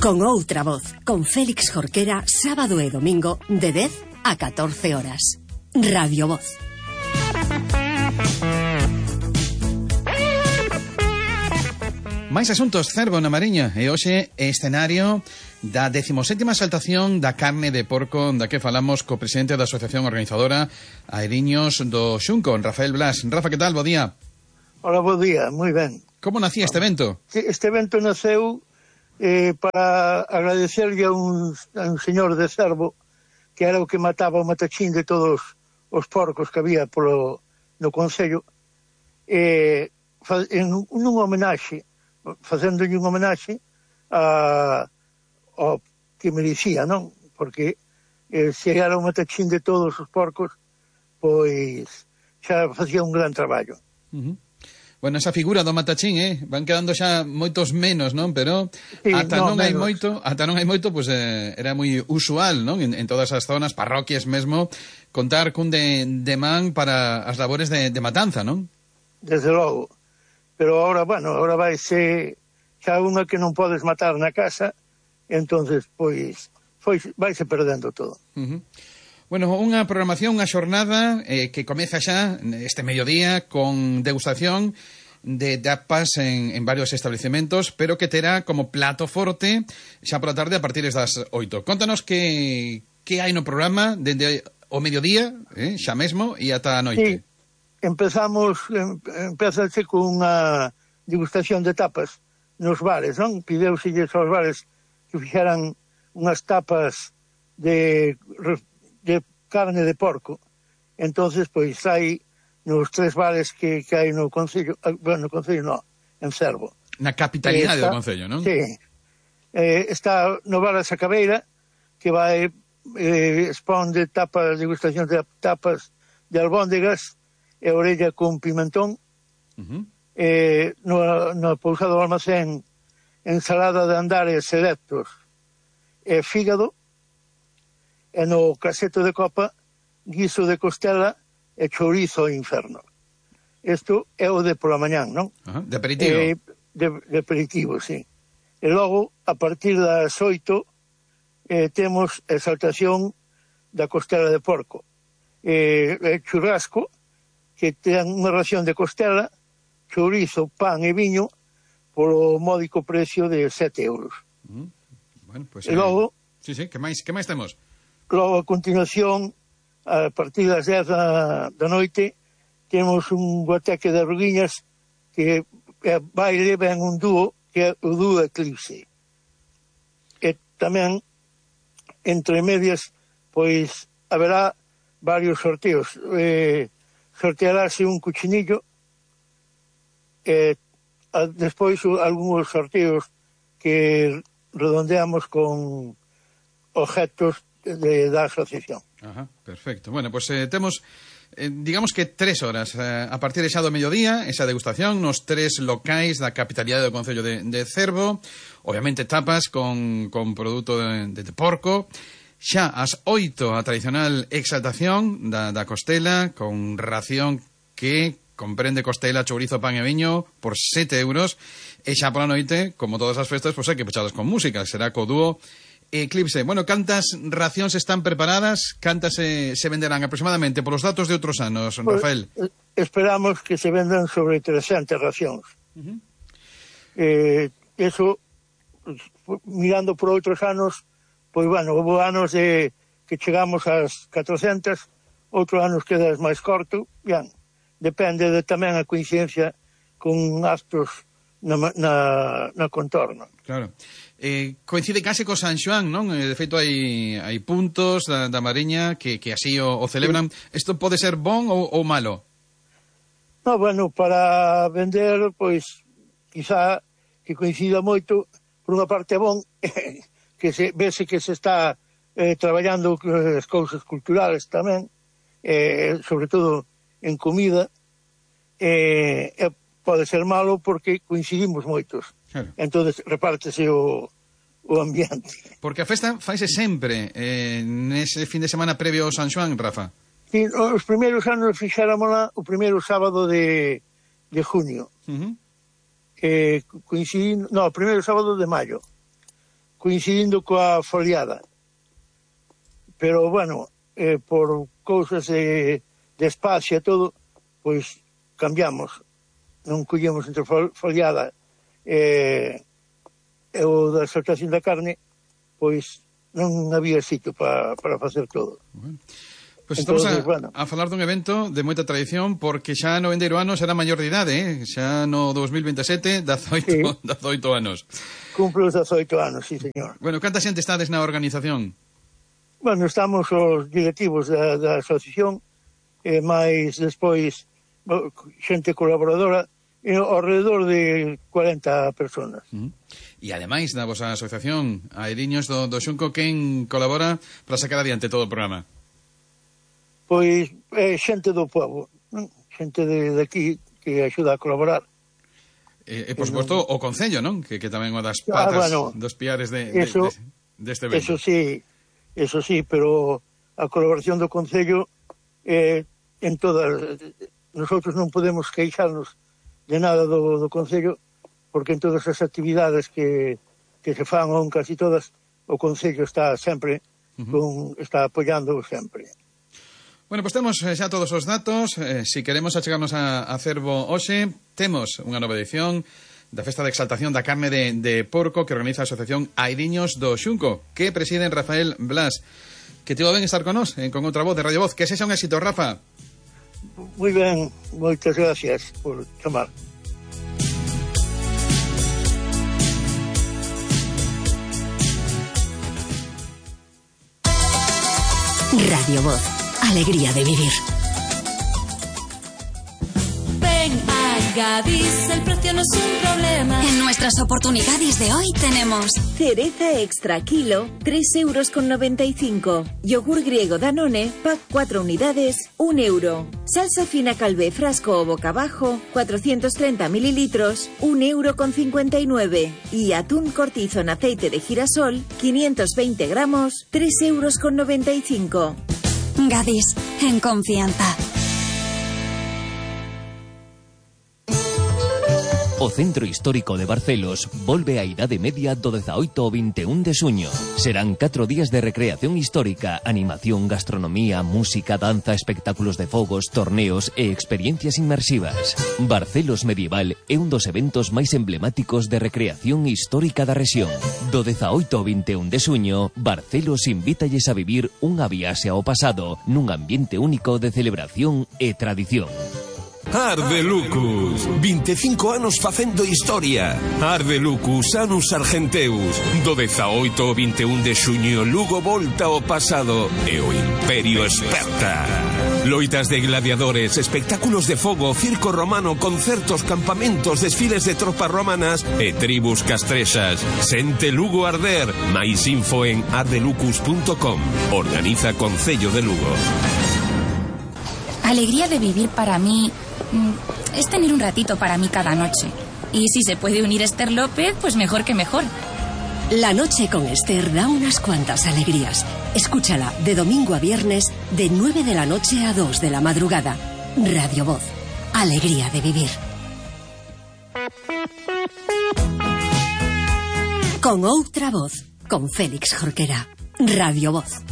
Con outra voz, con Félix Jorquera, sábado e domingo, de 10 a 14 horas. Radio Voz. Máis asuntos, Cervo na Mariña. E hoxe escenario da 17ª exaltación da carne de porco, da que falamos co presidente da Asociación Organizadora Aeriños do Xunco, Rafael Blas. Rafa, que tal? Bo día. Hola, bo día, moi ben. Como nacía este evento? Este evento naceu para agradecerle a un señor de Cervo, que era o que mataba o matachín de todos os porcos que había no Concello, en un homenaxe, facéndolle un homenaxe ao que merecía, non? Porque se era o matachín de todos os porcos, pois xa facía un gran traballo. Bueno, esa figura do matachín, van quedando xa moitos menos, non? Pero sí, ata non hai moito, pois era moi usual, non? En todas as zonas, parroquias mesmo, contar cun de man para as labores de matanza, non? Desde logo. Pero ahora, bueno, ahora vaise xa unha que non podes matar na casa, entonces, pois, vaise perdendo todo. Bueno, unha programación, unha xornada que comeza xa este mediodía con degustación de tapas en varios establecementos, pero que terá como plato forte xa pola tarde a partir das 8. Contanos que hai no programa dende o mediodía, xa mesmo, e ata a noite. Sí, empezase con unha degustación de tapas nos bares, non? Pideuselles aos bares que fixeran unhas tapas de carne de porco. Entonces, pois, hai nos 3 bares que hai no Concello, bueno, no Concello non, en Cervo. Na capitalidade do Concello, non? Sí. Está no bar da Sacabeira, que vai expón de tapas, degustación de tapas de albóndegas e orella con pimentón. No Pousado do Almacén, ensalada de andares selectos e fígado. E no Caseto de Copa, guiso de costela e chourizo inferno. Isto é o de pola mañán, non? De aperitivo. De aperitivo, sí. E logo, a partir das 8, temos exaltación da costela de porco. Churrasco, que ten unha ración de costela, chourizo, pan e viño, polo módico precio de 7 euros. Bueno, pues, e logo... Sí, que máis temos? Logo, a continuación, a partir das 10 da noite, temos un guateque de arruguiñas que baile ben un dúo, que é o dúo Eclipse. E tamén, entre medias, pois, haberá varios sorteos. Sortearase un cuchinillo, despois algúns sorteos que redondeamos con objetos da asociación. Perfecto. Bueno, pues temos, digamos que 3 horas a partir de xa do mediodía, esa degustación nos 3 locais da capitalidade do Concello de Cervo, obviamente tapas con produto de porco. Xa ás 8 a tradicional exaltación da costela con ración que comprende costela, chourizo, pan e viño por 7 euros. E xa pola noite, como todas as festas, pois hai que pechadas con música, será co dúo Eclipse. Bueno, cantas racións están preparadas? Cantas se venderán aproximadamente polos datos de outros anos, Rafael? Esperamos que se vendan sobre 300 racións. Eso, mirando por outros anos, pois, bueno, houve anos que chegamos ás 400, outros anos quedas máis corto, ben, depende tamén a coincidencia con actos na contorno. Claro. Coincide case co San Xoán, non? De feito, hai puntos da Mariña que así o celebran. Isto pode ser bon ou malo? No, bueno, para vender, pois, quizá que coincida moito, por unha parte bon, que vese que se está traballando as cousas culturales tamén, sobre todo en comida, pode ser malo porque coincidimos moitos. Claro. Entonces repártese o ambiente. Porque a festa faise sempre nese fin de semana previo ao San Xoán, Rafa. Sí, os primeiros anos fixéramola o primeiro sábado de junio. O primeiro sábado de maio. coincidindo coa foliada. Pero, bueno, por cousas de espacio e todo, pois cambiamos. Non collemos entre foliada e o da exaltación da carne, pois non había sitio para facer todo. Bueno. Pois estamos a falar dun evento de moita tradición, porque xa no vendeiro anos era maior de idade, xa no 2027, 18 anos. Cumpre os 18 anos, sí, señor. Bueno, canta xente estades na organización? Bueno, estamos os directivos da asociación, e máis despois xente colaboradora, ao redor de 40 personas. E ademais da vosa asociación Airiños do Xunco, quen colabora para sacar adiante todo o programa? Pois xente do povo, xente de aquí que axuda a colaborar. E por suposto o Concello, non? Que tamén é unha das patas, dos piares deste evento. Eso sí, pero a colaboración do Concello en todas... Nosotros non podemos queixarnos de nada do Concello, porque en todas as actividades que se fan, ou casi todas, o Concello está sempre está apoiando sempre. Bueno, pois temos xa todos os datos. Si queremos achegarnos a Cervo hoxe, temos unha nova edición da Festa de Exaltación da Carne de Porco que organiza a Asociación Airiños do Xunco, que preside Rafael Blas. Que te va ben estar con nós, con outra voz de Radio Voz. Que sexa un éxito, Rafa. Moi ben, moitas gracias por chamar. Radio Voz, alegría de vivir. Ven a Gadis, el precio no es un problema. En nuestras oportunidades de hoy tenemos cereza extra kilo, 3,95 €. Yogur griego Danone, pack 4 unidades, 1 €. Salsa fina Calvé frasco o boca abajo, 430 mililitros, 1,59 €. Y atún cortizo en aceite de girasol, 520 gramos, 3,95 €. Gadis, en confianza. O Centro Histórico de Barcelos volve á Idade Media do 18 ao 21 de xuño. Serán 4 días de recreación histórica, animación, gastronomía, música, danza, espectáculos de fogos, torneos e experiencias inmersivas. Barcelos Medieval é un dos eventos máis emblemáticos de recreación histórica da rexión. Do 18 ao 21 de xuño, Barcelos invítalles a vivir unha viaxe ao pasado nun ambiente único de celebración e tradición. Ardelucus, 25 anos facendo historia. Ardelucus, Anus Argenteus. Do 18 ao 21 de xuño, Lugo volta ao pasado e o Imperio esperta. Loitas de gladiadores, espectáculos de fogo, circo romano, concertos, campamentos, desfiles de tropas romanas e tribus castrexas. Sente Lugo arder. Mais info en ardelucus.com. Organiza Concello de Lugo. Alegría de vivir para mí es tener un ratito para mí cada noche. Y si se puede unir Esther López, pues mejor que mejor. La noche con Esther da unas cuantas alegrías. Escúchala de domingo a viernes de 9 de la noche a 2 de la madrugada. Radio Voz, alegría de vivir. Con outra voz, con Félix Jorquera. Radio Voz.